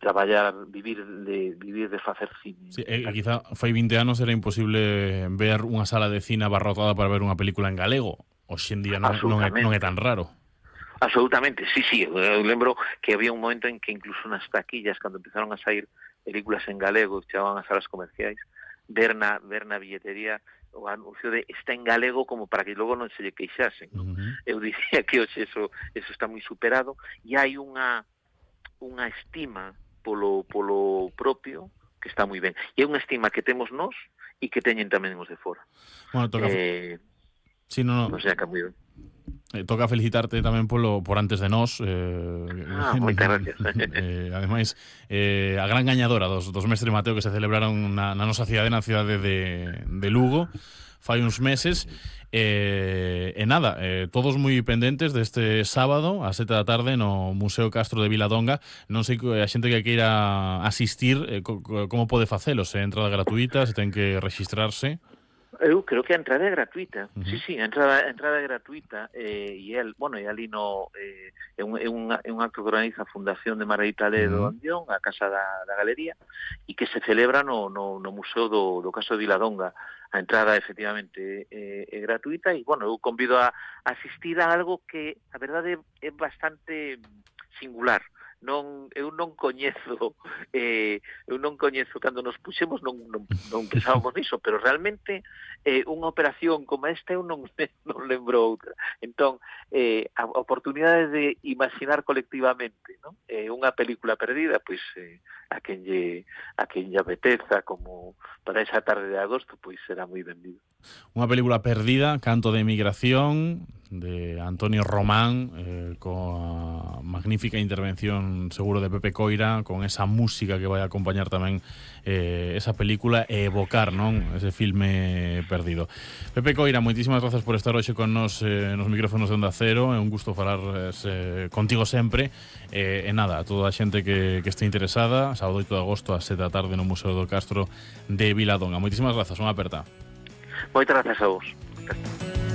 traballar, vivir de facer cine. Sí, quizá fai 20 anos era imposible ver unha sala de cine abarrotada para ver unha película en galego. Hoxe en día non é tan raro. Absolutamente, sí. Eu lembro que había un momento en que incluso nas taquillas, cando empezaron a sair películas en galego, chegaban as salas comerciais, ver na billetería o anuncio de está en galego como para que logo non se lle queixasen, non? Eu dicía que hoxe eso está moi superado e hai unha estima polo propio que está moi ben. E é unha estima que temos nós e que teñen tamén os de fora. Bueno, toca... Sí, no. O sea, que moi ben. Toca felicitarte tamén por antes de nós. Moitas gracias. Ademais, a gran gañadora dos Mestre Mateo que se celebraron na nosa cidade, na cidade de Lugo, fai uns meses. Nada, todos moi pendentes deste sábado a 7 da tarde no Museo Castro de Viladonga. Non sei a xente que queira asistir como pode facelo, se é entrada gratuita, se ten que registrarse. Eu creo que a entrada é gratuita. Sí, a entrada é gratuita e ali no é un acto que organiza a Fundación de Margarita Ledo Andión, a Casa da Galería, e que se celebra no Museo do Castro de Viladonga. A entrada efectivamente é gratuita e, eu convido a asistir a algo que, a verdade, é bastante singular. Eu non coñezo cando nos puxemos non pensábamos niso, pero realmente unha operación como esta eu non lembro outra. Entón, a oportunidade de imaginar colectivamente, non? Unha película perdida, pois a quen lle apeteza como para esa tarde de agosto, pois será moi benvido. Unha película perdida, Canto de Emigración, de Antonio Román, coa magnífica intervención seguro de Pepe Coira, con esa música que vai acompañar tamén esa película e evocar, non, ese filme perdido. Pepe Coira, moitísimas grazas por estar hoxe con nos micrófonos de Onda Cero. É un gusto falar contigo sempre. E nada, a toda a xente que este interesada, sábado 8 de agosto a 7 da tarde no Museo do Castro de Viladonga. Moitísimas grazas, unha aperta. Moitas grazas a vos.